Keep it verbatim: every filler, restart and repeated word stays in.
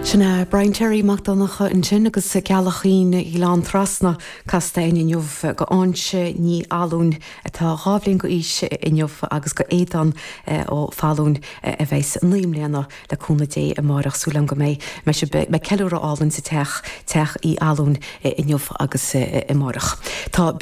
Sin é Brian Terry Mac Donncha ansin agus Gealach Aoine Ghleann Trasna casta inniu go Áinse Ní Alún atá dhá bhliain d'aois inniu agus go Éadán Ó Fallún a bheas naoi mbliana le cúnamh Dé amárach súil go mbeidh me ceiliúradh álainn sa teach teach Uí Alún inniu agus amárach. Tá